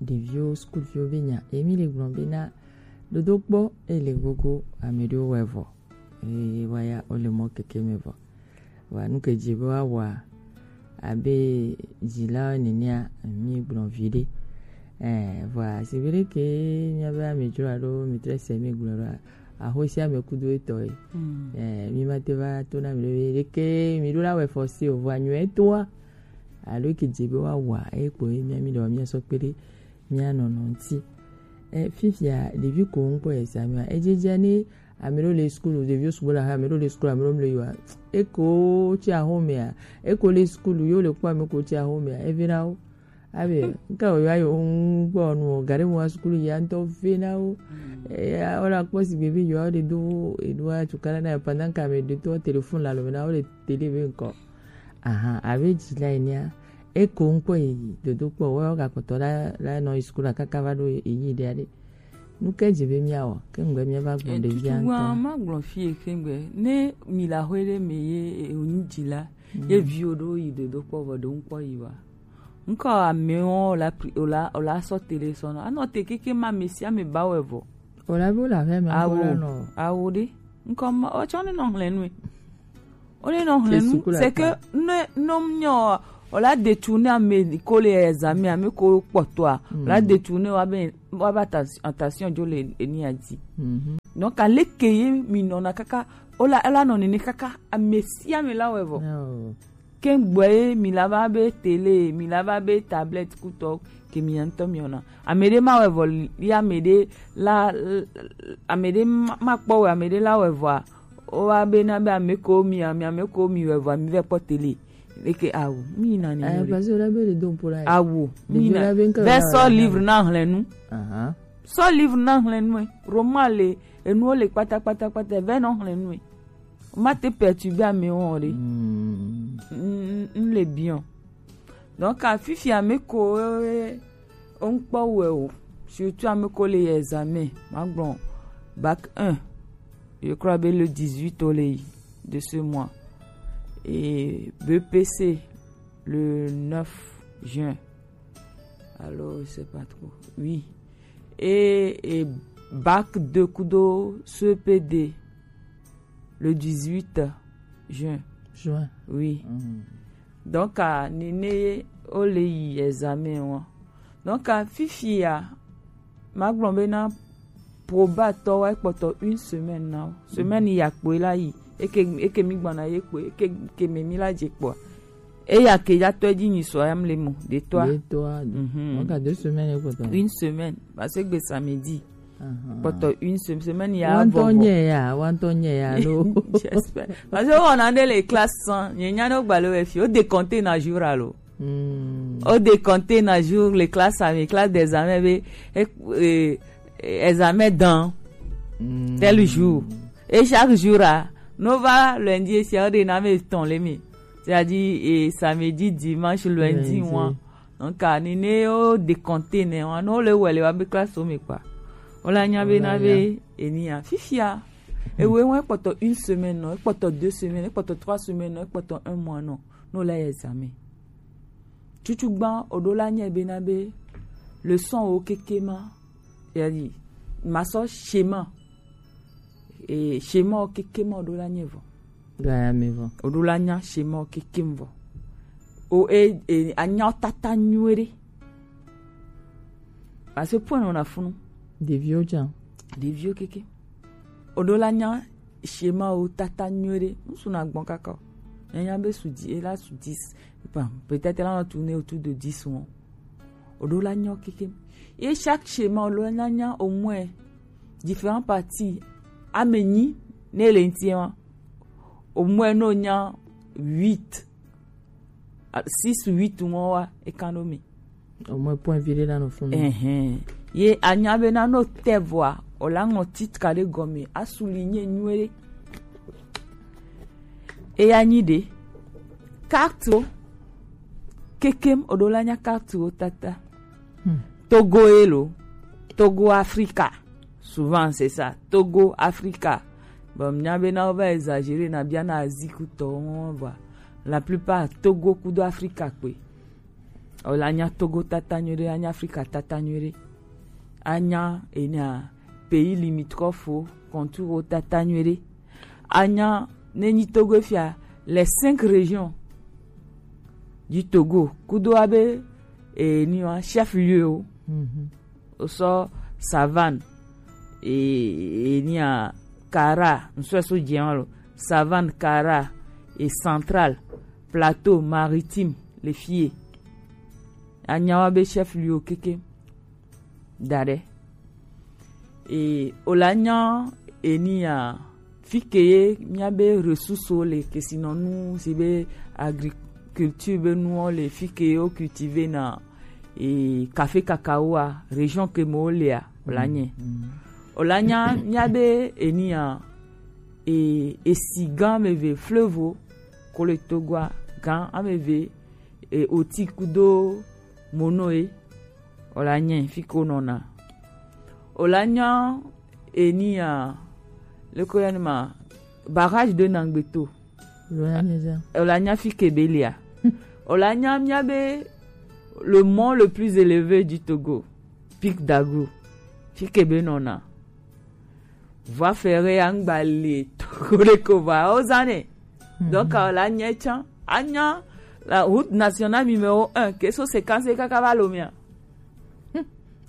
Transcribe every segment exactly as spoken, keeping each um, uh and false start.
Ɖeviwo, sukuviwo be nya, ye mi le gblɔ be na dodo kpɔ, e le gogo, ame ɖewo wɔ evɔ. Eye woaya, wole mɔ keke me vɔ. Vɔa nu ke dzi be woawɔa, abe dzilawo nenea, mi gblɔ viɖe. Eh, vɔa, si viɖe ke miabe amedzro alo mi tre se mi gblɔ ɖoa, ahosi ame kudo etɔ ye. Mm. Eh, mi ma te va to na mi ɖe be, ɖeke mi ɖo la wɔ efɔ si o, vɔa nyuie toa. Alo ke dze be woawɔa, eye kpo ye mía, mí ɖewoa míasɔ kpe ɖe mía nɔnɔ ŋuti. E, fifia, ɖevi ko ŋkpɔ examen a, edzedzea ne ame ɖewo le skul, ɖeviwo sugbɔ le axa, ame ɖewo le skul, ame ɖewo mle yoa, eko tsi axomea, eko le skul, yewo le kpɔ ame ko tsi axomea, eve na wo. Abe, nka wo yoa yo ŋkpɔ nu o, gare mo wa skul ya ŋutɔ ve na wo. Eya, wola kpɔ sigbe be yoa wo ɖe do, eɖoa tukala na yo pendant que ame ɖe to telefon la lo me na wo le tele be ŋkɔ. Ahan, abe dzila enea, eko ŋkpɔ yi dodo kpɔ, wɔ gakpɔtɔ la, la nɔ yi sukulu kaka va ɖo eyi ɖe aɖe. Nu ke dze be míawɔ, ke ŋgbe míava gblɔ ɖevia ŋutɔ. Tutugbã, magblɔ fie ke ŋgbe, ne mi le aƒe ɖe me ye, e, wònyi dzila, ye viwo ɖewo yi dodo kpɔ vɔ ɖewo ŋkpɔ yi wa. Ŋkɔ amewo la pri-, o la, o la sɔ tele sɔ nɔ. Anɔ te keke ma ame sia ame ba wɛ vɔ. O la be wo le aƒe me ŋkɔ la nɔ. Awo ɖe. Ŋkɔ ma, o tsɔ ne nɔ hlɛ nue. O ne nɔ hlɛ nu, c'est que ne, ne nyɔ, o la détourner ame ko le examen, ame ko kpɔtɔa, o la détourner wa be, wa ba attention jo le eni a dzi. Donc, aleke ye mi nɔna kaka, o la, ela nɔ nene kaka, ame sia ame la wɛ vɔ. Ke gbɔ ye mi la va be télé, mi la va be tablette kutɔ, ke mi ŋutɔ mi wɔna. Ame ɖe ma wɛ vɔ li, ame ɖe la, ame ɖe ma, ma kpɔ wɛ, ame ɖe la wɛ vɔa, o wa be na be ame ko mi, ame, ame ko mi wɛ vɔa, mi vɛ kpɔ télé. Eke awo, mi na ni. Eh, parce que la be le don pour la. Awo, mi na. Be sɔ livre na hlɛ nu. Sɔ livre na hlɛ nu. Roman le, enu le kpata, kpata, kpata, vɛ nɔ hlɛ nu. Ma te perturber amewo o ɖe. N, n, n le bien. Donc, a fifi ame ko, eh, o ŋkpɔ wɛ o. Surtout ame ko le yi examen. Ma gblɔ bac un. Je crois be le dix-huit o le yi de ce mois. Et B P C le neuf juin. Alors, je sais pas trop. Oui. Et, et bac deux kudo C P D le dix-huit juin. Juin. Oui. Donc, a, nene o le yi examen wa. Donc, a, fifia, ma gblɔ be na probatɔ wa kpɔtɔ une semaine na. Semaine ya kpoe la yi. Eke, eke mi gbɔna ye kpoe, eke, ke me mi la dze kpoa. Eya ke ya tɔ dzi nyi sɔ ya mle mo, de toi. De toi. Mhm. Donc, à deux semaines, quoi. Une semaine. Parce que samedi. Kpɔtɔ une sem-, semaine ya vɔ vɔ. Wantɔ nye ya, wantɔ nye ya lo. J'espère. Parce que on a des les classes sans, nye nya no gbalo e fi, o décompter na jour alo. O décompter na jour, les classes, mes classes d'examen, be, e, e, examen dans tel jour. Et chaque jour, a, no va lundi, e si, o de na me ton le mi. C'est-à-dire, e, samedi, dimanche, lundi, moi. Donc, a, ni ne o décompter ne, wa, no le wele wa be classe o me kpa. O la nya be na be, eni ya. Fifia. Ewe wa kpɔtɔ une semaine, non, kpɔtɔ deux semaines, kpɔtɔ trois semaines, non, kpɔtɔ un mois, non. No la examen. Tutugbã, o do la nya be na be, leçon o keke ma. Ya di, ma sɔ schéma. E, schéma o keke ma o do la nya vɔ. Gaya me vɔ. O do la nya schéma o keke vɔ. O, e, e, a nya o tata nyuie ɖe. Parce que point nɔ na funu. Ɖeviwo jan. Ɖeviwo keke. O do la nya schéma o tata nyuie ɖe. Ŋsu na gbɔn kaka o. Nya nya be su di, e la su dix. Enfin, peut-être la nɔ tourner autour de dix mois. O do la nya o keke. Et chaque schéma, o do la nya au moins différentes parties. Ame nyi, ne le ŋuti wa. Au moins, no nya huit. A, six, huit, ŋɔ wa, e kan do mi. Au moins, point viré la no funu. Ɛhɛn. Ye a nya be na no te vɔa, o la ŋɔ titre ka ɖe gɔme, a su li nye nyuie ɖe. Eya nyi ɖe. Carte o. Kekem, o do la nya carte o tata. Togo ye lo. Togo Africa. Souvent, c'est ça. Togo Africa. Bon, mia be na o va exagérer na bia na Asie kutɔ, voilà. La plupart, Togo kudo Africa kpe. Wòle anya Togo tata nyuie ɖe, anya Afrika tata nyuie ɖe, anya enya pays limitrophe, contour tata nyuie ɖe, anya ne nyi Togo fia, les cinq régions du Togo kudo abe enya chef-lieu o. Osɔ Savane, e, enya Kara, ŋsɔe so dze wan lo. Savane, Kara, e Central, Plateau, Maritime, le fie. Anya wa be chef-lieu keke da ɖe. E, wòle anya enya fi ke ye míabe ressources le, kesinɔnu si be agriculture be nuwo le, fi ke ye wo cultiver na e café cacao a, région ke me wo lea, wòle anye. Wòle anya míabe enya e, esi gã ame eve, fleuve ko le Togoa gã ame eve, e oti kudo mono e. Wòle anye fi ke wonɔna. Wòle anya enya, leke woyɔna ma, barrage de Nangbeto. Wòle anya fi ke be lia. Wòle anya míabe le mont le plus élevé du Togo, Pic d'Agout, fi ke be nɔna. Voie ferrée ya ŋgba le Togo ɖe ko va wozã nɛ. Donc wòle anya tsã, anya la route nationale numéro un ke so séquence kaka va Lomé a.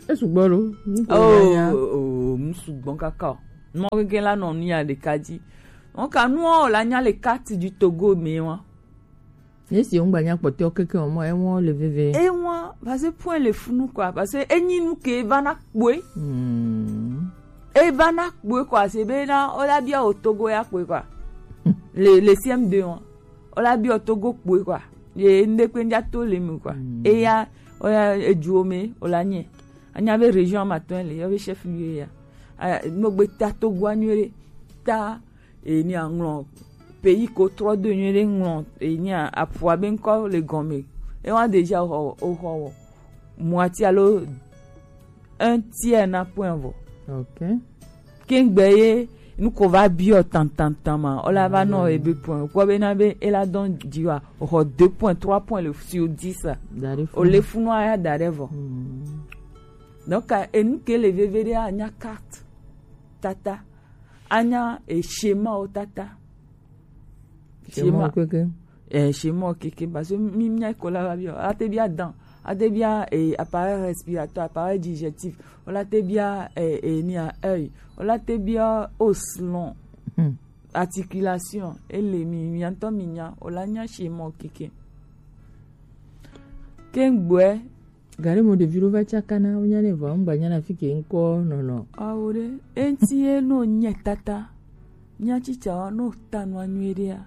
Esugbɔ lo. Oh, oh, nu sugbɔ kaka o. Mɔ gege la nɔ nu ya ɖeka dzi. Donc nuwo wòle anya le carte du Togo me wa. Esi wo ŋgba nya kpɔtɔ keke o mɔ, ewa le veve. Ewa, parce que point le funu quoi, parce que enyi nu ke va na kpoe. Hmm. E va na kpoe quoi, c'est be na o la bia o Togo ya kpoe quoi. Le, le C M deux wa. O la bia o Togo kpoe quoi. Ye nde kpe nja to le mu quoi. Hmm. E ya, o ya ejuo me, o la nye. Anya be région ma tɔn le, yo be chef lieu ya. A, no gbe ta Togo anyuie ɖe. Ta e ni aŋlɔ pays ko trɔ do nyuie ɖe, ŋlɔ e ni aƒua be ŋkɔ le gɔme. E wa déjà o xɔ, o xɔ wɔ moitié alo un tiers na point vɔ. Ok. Kengbe ye nu ko va biɔ tantantan ma, o la va nɔ ebe point. Kpɔ be na be e la dɔn dzi wa, o xɔ deux points, trois points le sur dix. O le funu aya da ɖe vɔ. Hmm. Donc, enu ke le veve ɖe anya carte tata, anya e schéma wo tata. Schéma keke. Eh, schéma keke, parce que mi mia ko la va bia, a te bia dent, a te bia eh, appareil respiratoire, appareil digestif, o la te bia eh, eh, ni a œil, o la te bia os long, articulation, e le mi, mi ŋutɔ mi nya, o la nya schéma keke. Kengbe Gare mo ɖevi ɖo va tsaka na, wonya nɛ vɔ, ŋgba nya na fi ke ŋkɔ nɔnɔ. Awo ɖe, eŋti ye no nye tata. Nya tsitsa wa no ta nua nyuie ɖea.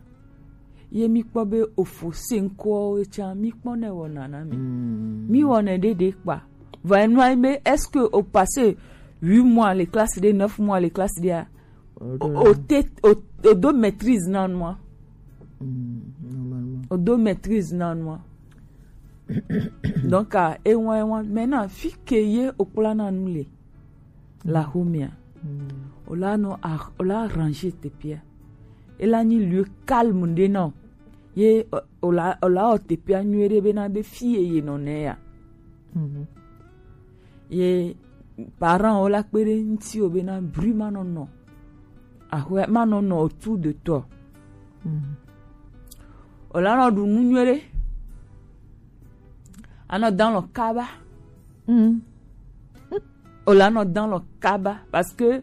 Ye mi kpɔ be ofo se ŋkɔ ye tsa, mi kpɔ ne wɔna na mi. Mm. Mi wɔna ɖe ɖe kpa. Vɔ enua be, est-ce que o passé huit mois le classe de, neuf mois le classe de a? O, o te, o, o do maîtrise na nua. Mm, normalement. O do maîtrise na nua. Donc, ah, ewa, ewa. Maintenant, fi ke ye o kpla na nu le. La homia. Mm. O la no, ah, o la arranger te pia. E la ni lieu calme de non. Ye, o, o la, o la o te pia nyuie ɖe be na be fi ye ye nɔ ne ya. Mhm. Ye parent wo la kpe ɖe ŋutiwò bena bruit ma nɔ nɔ. Axɔe ma nɔ nɔ autour de toi. Mhm. O la nɔ ɖu nu nyuie ɖe. A nɔ dan lɔ kaba. Mhm. O la nɔ dan lɔ kaba parce que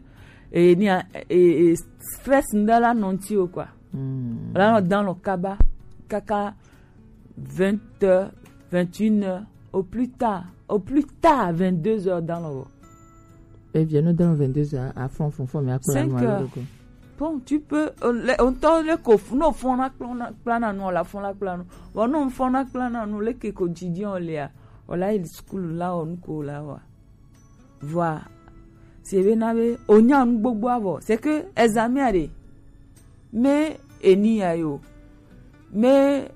eh, ni a- eh, eh, stress ŋɖe la nɔ ŋutiwò quoi. Mhm. O la nɔ dan lɔ kaba kaka vingt heures, vingt et une heures, au plus tard, au plus tard, vingt-deux heures dans le. Et bien, nous donnons vingt-deux heures à fond, fond, fond, mais après, cinq heures. Bon, tu peux, euh, le- on t'a le coffre, non, fond la plan, plan à nous, la fond la plan. Bon, non, fond la plan à nous, le que quotidien, on l'a, on l'a, il school là, on court là, ouais. Vɔa, se be na be o nya nu gbogbo avɔ. C'est que examen a ɖe. Me eni ya yo. Me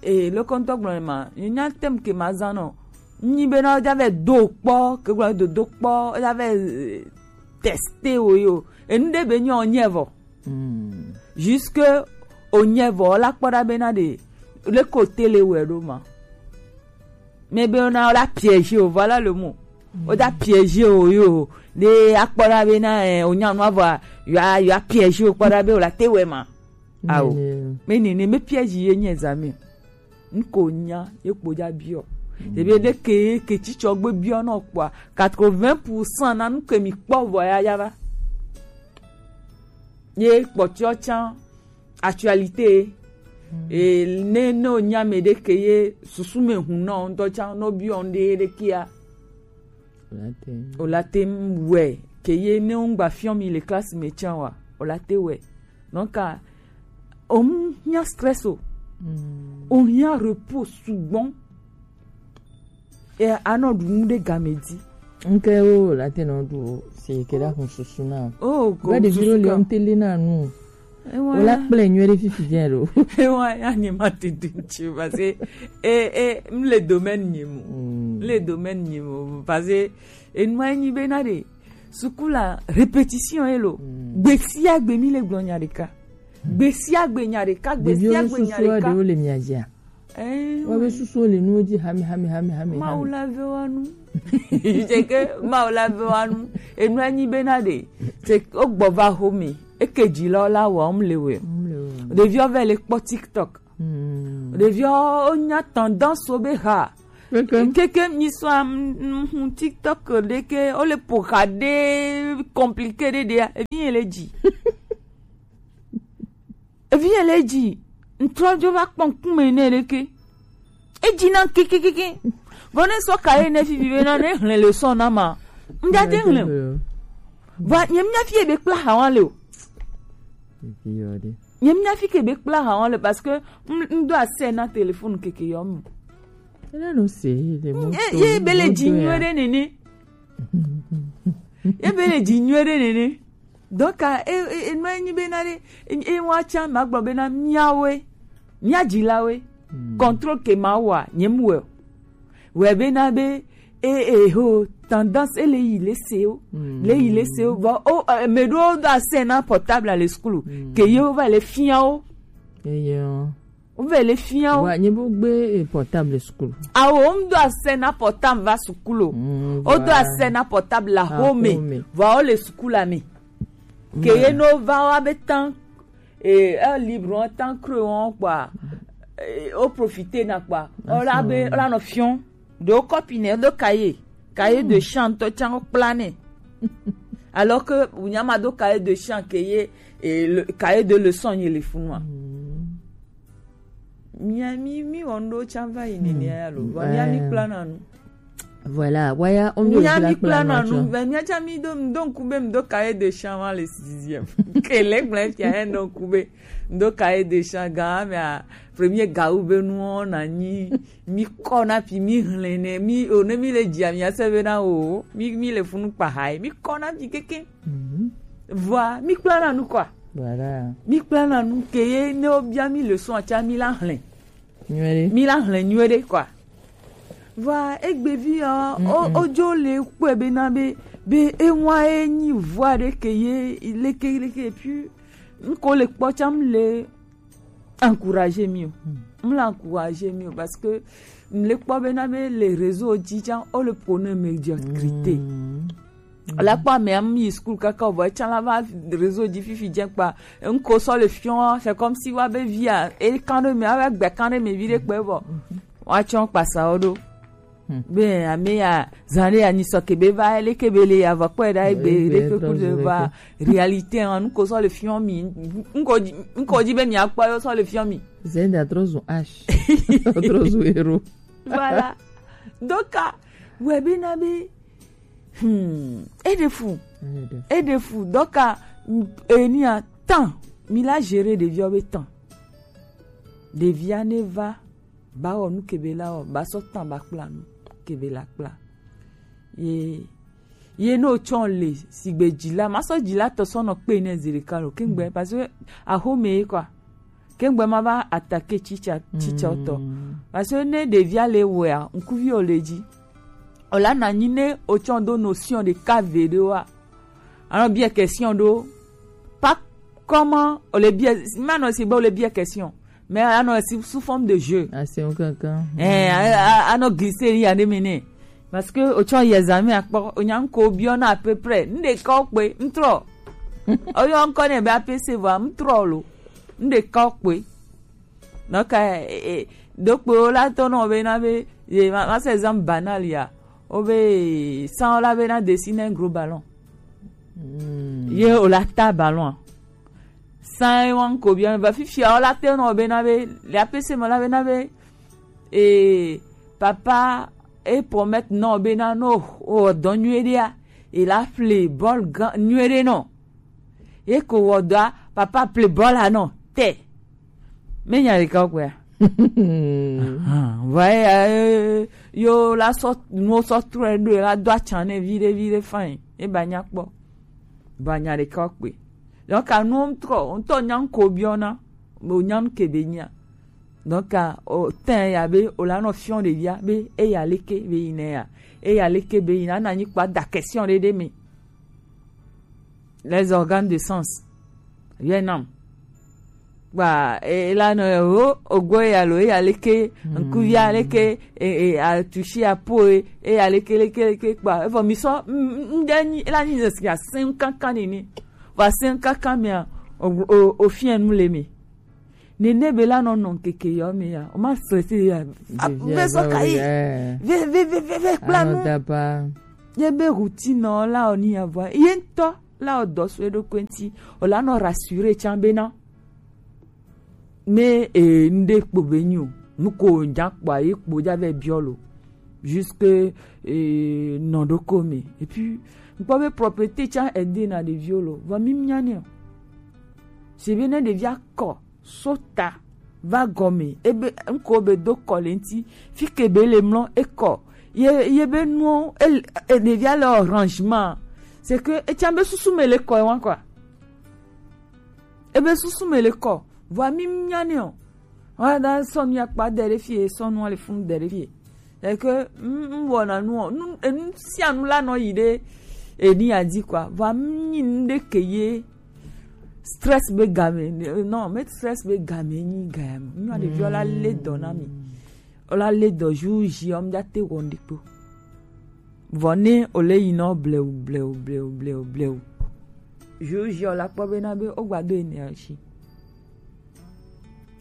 e le kɔntɔ gblɔ ma. Nya tem ke ma zan no. Nyi be na ja ve do kpɔ, ke gblɔ do do kpɔ, ja ve eh, tester wo yo. Enu ɖe be nyo nye vɔ. Mm. Jusque o nye vɔ la kpɔ ɖa be na ɖe le ko tele wɛ ɖo ma. Mais be ona o la piège o, voilà le mot. O da piège o yo. De akpɔra be na eh, o nya nu avɔ yo a- yo a piège o kpɔra be o la te wɛ ma. Awo. Mais nene me piège ye nye examen. N ko nya ye kpo ja biɔ. Ebe de ke ke tsitsɔ gbe biɔ nɔ kpɔa, quatre-vingts pour cent na nu ke mi kpɔ vɔ ya ya va. Ye kpɔtiɔ tsan actualité. E ne ne o nya me de ke ye susu me hun nɔ ŋdɔ tsan no biɔ ŋde ye de kia. O la te wɛ ke ye ne ŋgba fiɔ mi le classe me tsan wa. O la te wɛ. Donc, ah, o mu hiã stress o. O hiã repos sugbɔn. E anɔ ɖu nu ɖe game di. Nke wo la te nɔ ɖu o, si ke la hun susu na o. Oh, go. Be ɖevi ɖo le ŋteli na nu. Ewa. O la kple nyuie ɖe fifi dze ɖo. Ewa ya nye ma te ɖu ŋtsi o, parce que e e m le domaine nye mo. M le domaine nye mo, parce que enua nyi be na ɖe suku la répétition ye lo. Gbe sia gbe mi le gblɔ nya ɖeka. Gbe sia gbe nya ɖeka, gbe sia gbe nya ɖeka. Ɖeviwo susu ɖewo le mia dzia? Eh, wa be susu le nuwo dzi hame hame hame hame. Mawu la ve wa nu. Dze ke Mawu la ve wa nu. Enu anyi be na ɖe. Te o gbɔ va home. Eke dzi la la wa om le we. Ɖeviwo ve le kpɔ TikTok. Ɖeviwo o nya tendance wo be ha. Keke mi sɔ am hun TikTok ɖe ke o le po ha ɖe compliqué ɖe ɖe. Evi ye le dzi. Evi ye le dzi. Ŋtrɔ dzo va kpɔ ŋkume nɛ ɖeke. Edzi na kekekeke. Vɔ ne sɔ ka ye ne fifi be na ne hlẽ le sɔ na ma. Ŋdza te hlẽ. Va nye mnya fi ye be kpla ha wa le o. Nye mnya fi ke be kpla ha wa le parce que ŋdo ase na téléphone keke yɔ mu. Ele no se le mo. Ye be le dzi nyuie ɖe nene. Ye be le dzi nyuie ɖe nene. Donc, ah, e, e, e, nɔ enyi be na ɖe, e, e, wa tsa ma gblɔ be na miawe, mia dzilawe, contrôle ke ma wa, nye mu wɛ. Wɛ be na be, e, e, ho, tendance, e le yi le se o, le yi le se o, vɔ, o, e, me ɖo do ase na portable le school, ke ye o va le fia o. Eyo. Wo vɛ le fia o. Wa nye bo gbe eh, portable school. Awo ŋdo ase na portable va sukulu o. Ŋdo ase na portable la home. Vɔ o le sukulu la me. Ke ye no va wa be tan eh, eh, libre en temps creux on quoi. Eh, o profiter na quoi. O la be o la no fion. Do copine do cahier. Cahier de chant to tsango plané. Alors que unyama do cahier de chant ke ye eh, le cahier de leçon ye le funwa. Mia mi mi wɔ ŋɖewo tsã va yi nenea ya lo vɔ mia mi kpla na nu. Voilà, waya o mi mia mi kpla na nu vɛ mia tsã mi do do ŋku be mi do cahier de chant ma le sixième ke le gblẽ fia he do ŋku be mi do cahier de chant gã mea premier gawu be nuwo na nyi mi kɔ na fi mi hlẽ ne mi o ne mi le dzia mia se be na o mi mi le funu kpa ha mi kɔ na fi keke. Vɔa mi kpla na nu kɔa. Mi kpla na nu ke ye ne wobia mi leçon atsa mi la hlẽ. Mi la hlẽ nyuie ɖe kɔa. Vɔa egbevi ya o odzo le kpɔe be na be be ewa ye nyi vɔa ɖe ke ye leke leke et puis n ko le kpɔ tsam le encourager mi o. M le encourager mi o parce que m le kpɔ be na be le réseau dzi tsã o le prôner médiocrité. La kpɔ ame am yi school kaka o vɔ etsã la va réseau dzi fifi dze kpa n ko sɔ le fiɔ c'est comme si wa be via e kan ɖe me ava gbe kan ɖe me vi ɖe kpe vɔ wa tsɔ kpasa wo ɖo. Be ame ya zan ɖe ya nyi sɔ kebe va ele kebe le ya va kpɔe ɖa egbe ɖe kpe ku ɖe va réalité hã nuko sɔ le fiɔ mi nuko dzi nuko dzi be mi akpɔ yo sɔ le fiɔ mi. Zenda trɔ zu ash trɔ zu ero. Voilà. Donc wɛ be na be hmm eɖe fu eɖe fu donc enia tan mi la gérer ɖeviwo be tan ɖevia ne va ba wɔ nu kebe la wɔ ba sɔ tan ba kpla nu kebe la kpla ye ye ne wotsɔ le sigbe dzila ma sɔ dzila tɔ sɔ nɔ kpe ne zi ɖeka lo kengbe parce que axome ye kɔa kengbe ma va attaquer tsitsa tsitsa tɔ parce que ne ɖevia le wɔa ŋkuvi o le dzi o la na nyi ne wotsɔ do notion ɖeka ve ɖe wa anɔ biɛ question ɖo pas comment o le biɛ ma nɔ si be o le biɛ question Mais anɔ sous forme de jeu. Asi ŋu kankan. Eh, a- a- anɔ glisser ya ne mene. Parce que o tsɔ yɛ zame akpɔ, o nya ŋko biɔ na à peu près. N de kɔ kpe, n trɔ. O yɔ ŋkɔ ne be A P C vɔ, n trɔ lo. N de kɔ kpe. Donc, eh, eh, donc, o la tɔ nɔ be na be, eh, ma, ma se exemple banal ya. O be, sans o la be na dessiner un gros ballon. Ye o la ta ballon. Sans e wan ko bien, va fifia o la te nɔ be na be, le A P C me la be na be, eh, papa e promettre nɔ be na no, o dɔ nyuie ɖea, e la ƒle bɔl gã nyuie ɖe nɔ. Ye ko wɔ dɔa, papa ƒle bɔl la nɔ te. Me nya ɖeka kpɔa. Ahan, va ye, eh, yo la sɔ, nuwo sɔ trɔe ɖo, e la do atsa nɛ viɖe, viɖe fine. E ba nya kpɔ. Ba nya ɖeka kpɔe. Donc, anuwo ŋtrɔ, ŋtɔ nya ŋko biɔna, bo nya ŋke be nyia. Donc, o tɛn ya be, o la nɔ fiɔ ɖevia be, eya leke be yi nɛ ya. Eya leke be yi na, na nyi kpa da question ɖe ɖe me. Les organes de sens. Yɛ nam. Kpa, e, e la nɔ, o, ogo ya lo, eya leke, ŋkuvi ya leke, e, e, a touché a peau, e, eya leke, leke, leke, kpa. Evɔ mi sɔ, m, m, m, ɖe nyi, e la nyi zesi a sen kankan nini. Va sen kankan mia, o, o, o fiɛ nu le mi. Nene be la nɔ nɔ ŋkeke yɔ me ya. O ma stressé ya. A, ve sɔ ka yi. Ve, ve, ve, ve, ve, kpla nu. Ye be routine la o ni ya vɔ. Ye ŋtɔ la o dɔ so eɖokui ŋti. O la nɔ rassuré tsan be na. Me, e, n de kpo be nyi o. Nu ko ja kpɔa, ye kpo ja vɛ biɔ lo. Jusque, e, nɔ ɖoko me. Et puis, n kpɔ be propreté tsan aidé na ɖeviwo lo. Vɔ mi nya nɛ o. C'est bien ne ɖevia kɔ. Sota va gɔme, ebe ŋko be do kɔ le ŋti, fike be le mlɔ ekɔ, ye, ye be nuwo, e, e, ɖevia le arrangement, c'est que etsa be susu me le kɔ ewan quoi. Ebe susu me le kɔ, vɔa mi nya ne o. Wa da sɔnu ya kpa de ɖe fie, sɔnu le funu de ɖe fie. C'est que, m, m wɔna nu o. Nu, enu sia nu la nɔ yi ɖe eni ya dzi quoi. Vɔa m nyi nu ɖe ke ye stress be game. Non, me stress be game nyi game. Nyɔ ɖeviwo la le dɔ na mi. O la le dɔ jour J, o m ja te wɔ ŋɖe kpo. Vɔ ne o le yi nɔ blewu, blewu, blewu, blewu, blewu. Jour J o la kpɔ be na be o gba do énergie.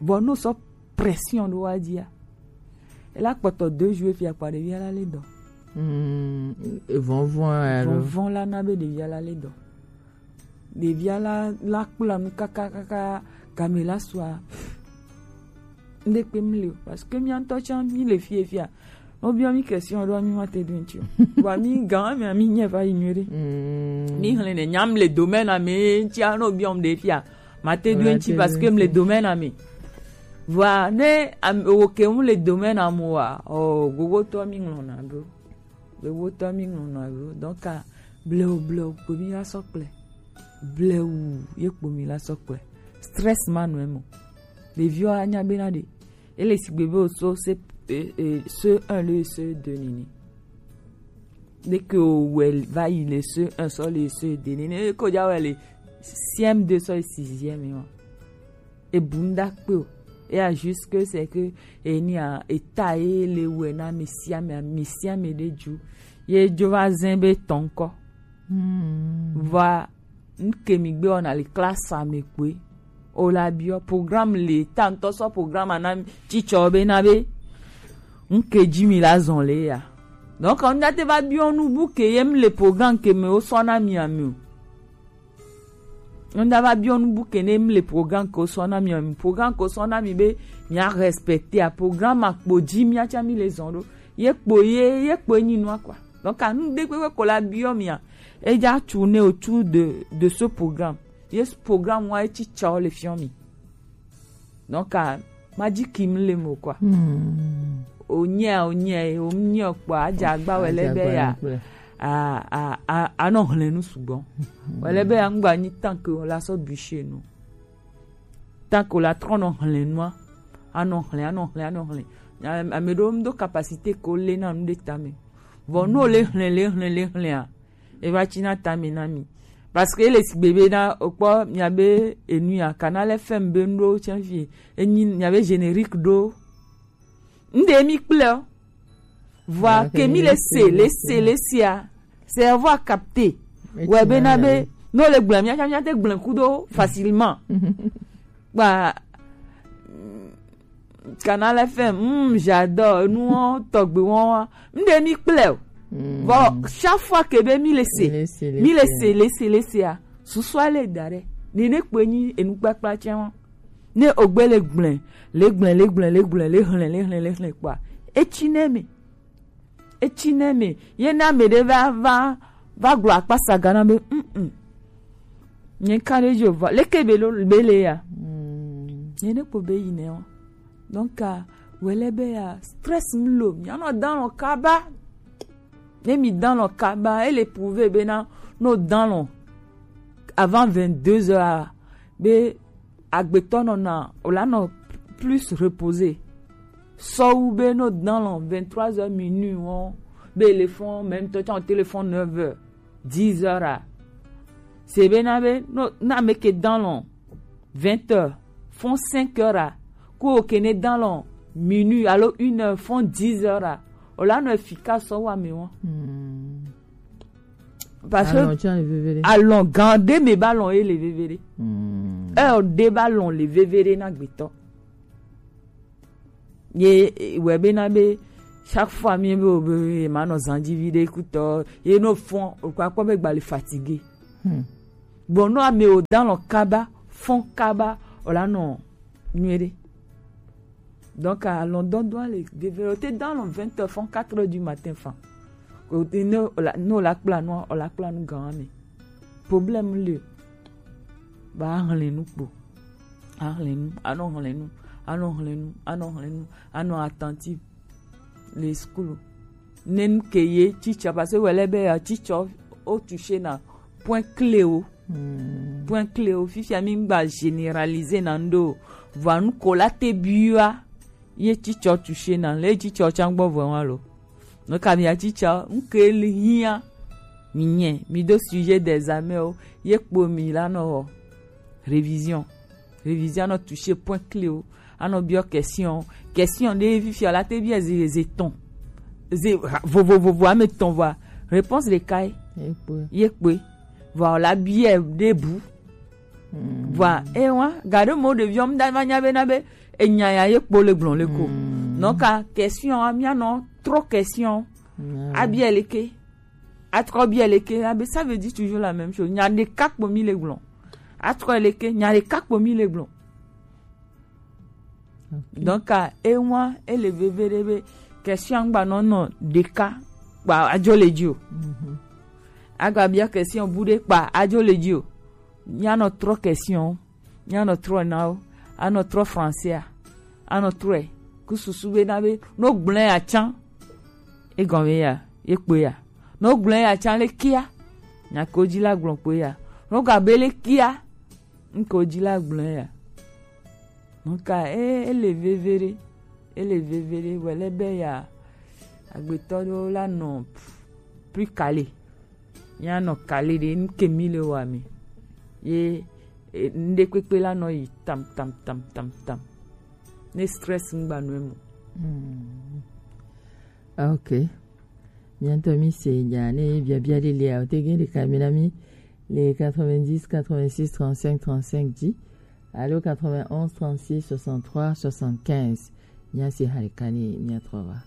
Vɔ no sɔ pression ɖo wa dzia. Ela kpɔtɔ deux jours fia kpa ɖevia la le dɔ. Mm, vɔnvɔn alo. Vɔnvɔn la na be ɖevia la le dɔ. Ɖevia la, la kpla nu kaka, kaka, game la sua. Ŋɖe kpe mi le o, parce que mia ŋutɔ tsã mi le fie fia. Wobiɔ mi question ɖo mi ma te ɖo ŋuti o. Vɔa mi gã mi mi nye va yi nyuie ɖe. Mm. Mi hlẽ ne nyam le domaine me ŋuti a no biɔ m ɖe fia. Ma te ɖo ŋuti parce que m le domaine me. Vɔa ne am, wo ke m le domaine mo wa, o gogotɔ mi ŋlɔna ɖo. Gogotɔ mi ŋlɔna ɖo. Donc, a, blewu, blewu, kpo mi la sɔ kple. Blewu, ye kpo mi la sɔ kple. Stress ma nɔ emo. Ɖeviwo anya be na ɖe. Ele sigbe be o so se, e, e, C un le C deux nini. Dès que o wɛ va yi le C un sɔ le C deux nini, ko ja wɛ le C M deux sɔ le sixième wa. E bu ŋda kpe o. E a juste que c'est que e ni a eta e le wɛ na mi sia mi, mi sia mi ɖe ju. Ye jo va zɛn be tɔn kɔ. Hmm. Va N ke mi gbe wɔna le classe me kpoe. O la biɔ programme le ta ŋutɔ sɔ programme a na mi tsitsɔ be na be n ke dzi mi la zɔn le ya. Donc n date va biɔ nu bu ke ye m le programme ke me wo sɔ na mi ame o. N da va biɔ nu bu ke ne m le programme ke wo sɔ na mi ame. Programme ke wo sɔ na mi be mi a respecter a programme a kpo dzi mi a tsa mi le zɔn ɖo. Ye kpo ye, ye kpo enyi nua quoi. Donc, a nu ɖe kpekpe ko la biɔ mia, e ja tu ne autour de, de ce programme. Ye programme wa e ci tsa le fiɔ mi. Donc, a ma dzi kim le mo quoi. Hmm. O nye, o nye, o nye kpɔ, a ja gba wele be ya. A, a, a, a nɔ hlẽ nu sugbɔ. Wele be ya ŋgba nyi tant que o la sɔ bûcher nu. Tant que la trɔ nɔ hlẽ nua, anɔ hlẽ, anɔ hlẽ, anɔ hlẽ. Ame ɖewo ŋdo capacité ko lé na nu ɖe tame. Vɔ nu le hlẽ, le hlẽ, le hlẽa, e va tsi na tame na mi. Parce que ele sigbe be na okpɔ miabe enu ya Canal F M be nuɖo tsɛ fi enyi miabe générique ɖo. Nde mi kple o. Vɔa ke mi le se le se le sia. C'est avoir capté. Ouais be na be no le gblẽ mia mia te gblẽ kudo facilement. Ba Canal F M, mm, j'adore. Nous on tɔgbe on. Nde mi kple o. Bon, chaque fois que be mi le se, mi le se le se le se a, susu ale da ɖe. Ni ne kpe nyi enu kpakpa tsɛ wa. Ne ogbe le gblẽ, le gblẽ, le gblẽ, le gblẽ, le hlẽ, le hlẽ, le hlẽ kpa. Etsi ne me. Etsi ne me. Ye na me ɖe va va va gblɔ akpa saga na be, mm mm. Nye ka ɖe jo va. Leke be lo be le ya. Nye ne kpo be yi ne wa. Donc, ah, wele be ya stress mlo. Mianɔ dan lɔ kaba. Ne mi dan lɔ kaba, ele prouver be na no dan lɔ avant vingt-deux heures, be agbetɔ nɔna o la nɔ plus reposé. Sɔwu be no dan lɔ vingt-trois heures minuit wɔn be le fɔn même temps téléphone neuf heures, dix heures a. C'est be na be no na me ke dan lɔ vingt heures fɔn cinq heures a. Ko ke ne dan lɔ minuit alo une heure fɔn dix heures a. O la nɔ efficace sɔwu ame wɔn. Parce que alɔn gan ɖe me ba lɔn ye le veve ɖe. Heure ɖe ba lɔn le veve ɖe na gbetɔ. Ye wɛ be na be chaque fois mi be o be ma nɔ zanji vi ɖe kutɔ ye no fɔn o kɔ akpɔ be gba le fatigué. Bon no ame o dan lɔ kaba fɔn kaba o la nɔ nyuie ɖe. Donc alɔn dɔn dɔn le veve o te dan lɔ vingt heures fɔn quatre heures du matin fan. O te ne o la ne o la kpla nua o la kpla nu gan me. Problème le. Ba hlẽ nu kpo. A hlẽ nu, anɔ hlẽ nu, anɔ hlẽ nu, anɔ hlẽ nu, anɔ attentif le school. Ne nu ke ye teacher parce que wele be ya teacher o toucher na point clé o. Point clé o fifia mi gba généraliser na ndo. Vɔa nu ko la te bia ye teacher toucher na le teacher tsangbo vɔ wa lo. No ka mi teacher nke le hia mi nye mi do sujet des armées o ye kpo mi la no révision. Révision no toucher point clé o. Anɔ biɔ question. Question de fifia la te biɔ ze ze ton. Ze vovo vovo ame ton va. Réponse de kai. Ye kpe. Vɔ la biɔ de bu. Vɔ e wa ga de mo de viom da ma nya be na be enya ya ye kpo le gblɔ le ko. Non ka question a mia no trop question. Abiɔ le ke. Atrɔ biɔ le ke a be ça veut dire toujours la même chose. Nya de ka kpo mi le gblɔ. Atrɔ le ke nya de ka kpo mi le gblɔ. Donc a e wa e le veve de be question gba no no de ka kpa ajo le ji o. Aga biɔ question bu de kpa ajo le ji o. Mia nɔ trɔ question, mia nɔ trɔ na o, anɔ trɔ français a, anɔ trɔe ku susu be na be no gblẽ ya tsan. E gɔme ya, ye kpe ya. No gblẽ ya tsan le kia. Nya ko ji la gblɔ kpe ya. No ga be le kia. N ko ji la gblẽ ya. Nka e ele veve ɖe, ele veve ɖe wele be ya agbetɔ ɖewo la nɔ plus calé. Mia nɔ kali ɖe nu ke mi le wa mi. Ye e, nuɖe kpekpe la nɔ yi tam tam tam tam tam. Ne stress ŋgba nɔ emo. Ok. Miantɔ mi se nya ne biabia ɖe lia o te gen ɖeka mi na mi le quatre-vingt-dix quatre-vingt-six trente-cinq trente-cinq dix alo quatre-vingt-onze trente-six soixante-trois soixante-quinze. Mia se ha ɖeka ne mia trɔ va.